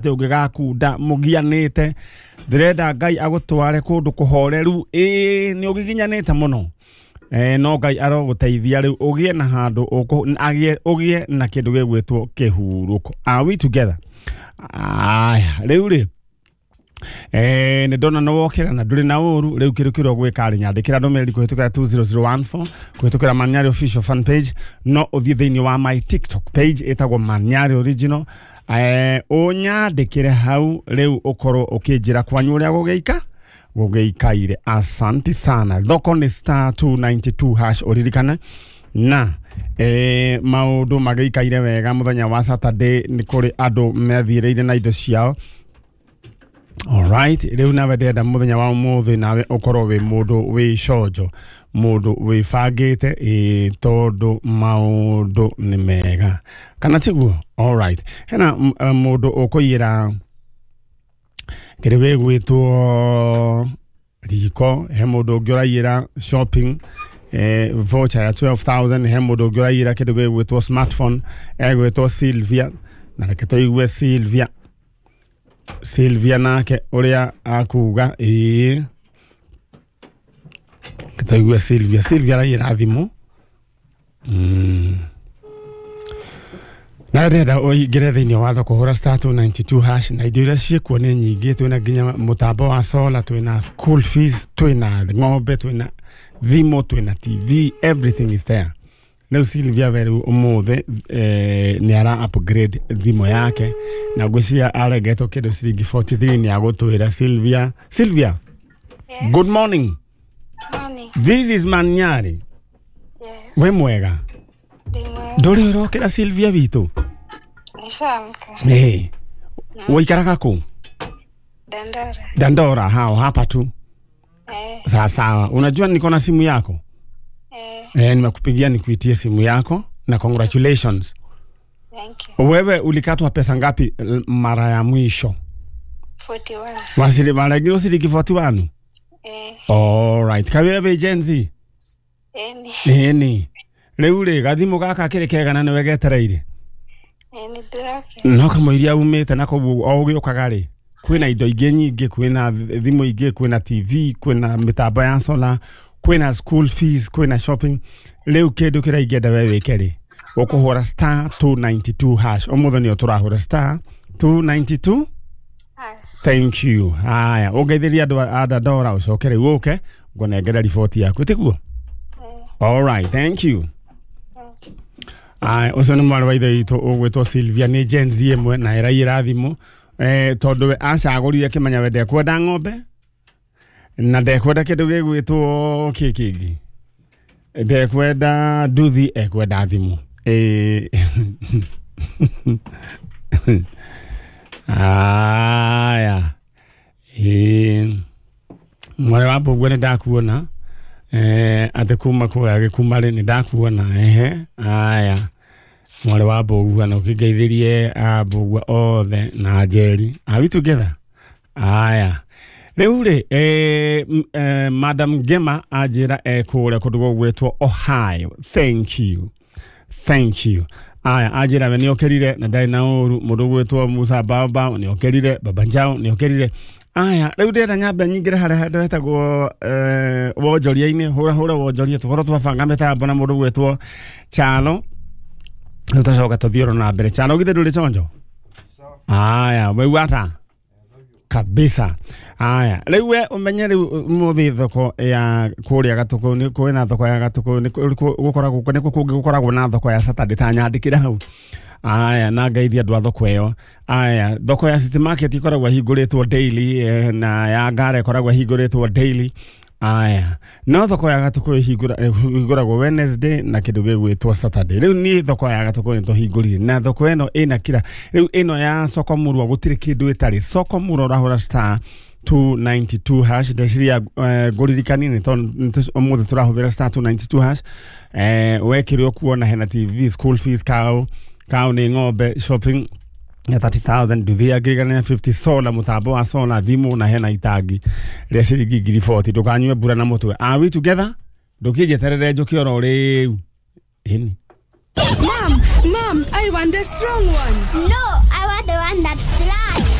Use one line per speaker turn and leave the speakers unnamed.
Atĩ ũngĩgakunda mũgianĩte, ndĩrenda Ngai agũtware kũndũ kũhoreru. Ĩĩ, nĩ ũgiginyanĩte mũno. No Ngai arogũteithia rĩu ũgĩe na handũ ũgĩe na kĩndũ gĩgwĩtwo kĩhurũko. Are we together? Aya, rĩu rĩ, nĩ ndona nĩ wokĩra na ndũrĩ na ũru. Rĩu kĩndũ kĩrĩa ũgwĩka rĩ, nyandĩkĩra ndũmĩrĩri kũhĩtũkĩra 20014, kũhĩtũkĩra Manyari official fan page. No ũthiĩ thĩinĩ wa my TikTok page ĩtagwo Manyari Original, ũnyandĩkĩre hau. Rĩu ũkorwo ũkĩnjĩra kwanyu ũrĩa gũgĩikaire. Asanti sana. Thoko nĩ star 292 hash, ũririkane na maũndũ magĩikaire wega. Mũthenya wa Saturday nĩ kũrĩ andũ methiĩrĩire na indo ciao. Alright, rĩu nawe ndĩrenda mũthenya wa ũmũthĩ nawe ũkorwo wĩ mũndũ wĩ conjo, mũndũ wĩbangĩte, ĩĩ, tondũ maũndũ nĩ mega, kana tiguo? Alright, hena mũndũ ũkũiyĩra kĩrĩ gĩgwĩtwo riko, he mũndũ ũngĩ ũraiyĩra shopping voucher ya 12,000, he mũndũ ũngĩ ũraiyĩra kĩndũ gĩgwĩtwo smartphone, egwĩtwo Sylvia. Na reke tũigue Sylvia nake ũrĩa akuga. Ĩĩ, reke tũigue Sylvia. Sylvia araiyĩra thimũ. Na ndĩrenda ũingĩre thĩinĩ wa thoko, hũra star 292 hash, na indo iria ciĩkuo nĩ nyingĩ. Twĩna nginya mũtambo wa solar, twĩna school fees, twĩna ng'ombe, twĩna thimũ, twĩna TV, everything is there. Rĩu Sylvia we rĩu ũmũthĩ nĩ ara upgrade thimũ yake na ngwĩciria arengetwo kĩndũ ciringi 43. Nĩ agũtwĩra. Sylvia, Sylvia.
Yes.
Good morning.
Morning.
This is Manyari.
Yes.
Wĩ mwega?
Ndĩ mwega.
Ndũrĩ ũrokĩra, Sylvia witũ?
Nishaamka.
Ĩĩ, waikaraga kũ?
Dandora.
Dandora hao hapa tu?
Eh.
Sawa sawa, unajua niko na simu yako.
Eh.
Nimekupigia nikuitie simu yako na congratulations.
Thank you.
Wewe ulikatwa pesa ngapi mara ya mwisho?
41.
Wasili maragiro ciringi 41?
Eh.
Alright, kawewe Gen Z?
Eni.
Ĩni, rĩu rĩ, gathimũ gaka kĩrĩ kega na nĩwe getereire?
Eni ndĩroke.
No kamũiria umĩte na kũu o ũgĩũkaga rĩ, kwĩna indo ingĩ nyingĩ, kwĩna thimũ ingĩ, kwĩna TV, kwĩna mĩtambo ya solar, kwĩna school fees, kwĩna shopping. Rĩu kĩndũ kĩrĩa ingĩenda we wĩke rĩ, ũkũhũra star 292 hash. Ũmũthĩ nĩyo tũrahũra star 292.
Ah.
Thank you. Haya, ũngeithĩria andũ a Dandora, ũcoke rĩu ũke ngũnengere riboti yaku, tiguo?
Eh.
Alright, thank you.
Thank you.
Aya, ũcio nĩ mwarĩ wa ithe witũ ũgwĩtwo Sylvia, nĩ Gen Z ĩmwe na ĩraiyĩra thimũ, tondũ we acagũrire kĩmenya we ndekwenda ng'ombe na ndekwenda kĩndũ gĩgwĩtwo kĩ kĩngĩ, ndekwenda nduthi, ekwenda thimũ. Aya, mwarĩ wa mbũguo, nĩ ndakuona, atĩ kuma kũrĩa gĩkuma rĩ, nĩ ndakuona. Ehe, aya, mwarĩ wa mbũgua, na ũkĩngeithĩrie a mbũgua othe na Njeri. Are we together? Aya, rĩu rĩ, Madam Gema anjĩra ekũrĩa kũndũ gũgwĩtwo Ohio. Thank you, thank you. Aya, anjĩra we nĩokĩrire na ndarĩ na ũru. Mũndũ ũgwĩtwo Musa Baba nĩokĩrire, Baba Njao nĩokĩrire. Aya, rĩu ndĩrenda nyambe nyingĩre harĩa handũ hetagwo wonjoria-inĩ. Hũra hũra wonjoria, tũkorwo twabanga mĩtambo na mũndũ ũgwĩtwo Chalo. Rĩu tũcoka tũthiĩ oro na mbere. Chalo, githĩ ndũrĩ chonjo? Aya, waigua ata kabisa? Aya, rĩu we ũmenye rĩu ũmũthĩ thoko ya kũrĩa Gatũkũ nĩ kwĩna thoko ya Gatũkũ, nĩ gũkoragwo nĩ kũngĩ gũkoragwo na thoko ya Saturday, ta nyandĩkĩra hau. Aya, na ngeithia andũ a thoko ĩyo. Aya, thoko ya City Market ĩkoragwo ĩhingũrĩtwo daily, na ya Ngara ĩkoragwo ĩhingũrĩtwo daily. Aya, no thoko ya Gatũkũ ĩhingũragwo Wednesday na kĩndũ gĩgwĩtwo Saturday. Rĩu niĩ thoko ya Gatũkũ nĩ tũhingũrire, na thoko ĩno ĩna kira. Rĩu ĩno ya soko murwa gũtirĩ kĩndũ ĩtarĩ. Soko murwa ũrahũra star 292 hash. Ndeciria ngũririkanie nĩ tondũ ũmũthĩ tũrahũthĩra star 292 hash. Wekĩrwo kuona hena TV, school fees, cow cow nĩ ng'ombe, shopping ya 30,000, nduthi ya 150, solar, mũtambo wa solar, thimũ, na hena itangi rĩa ciringi ngiri 40. Ndũkanyue mbura na mũtwe. Are we together? Ndũkĩnjeterere njũke oro rĩu, ĩni.
Mom, Mom, I want the strong one.
No, I want the one that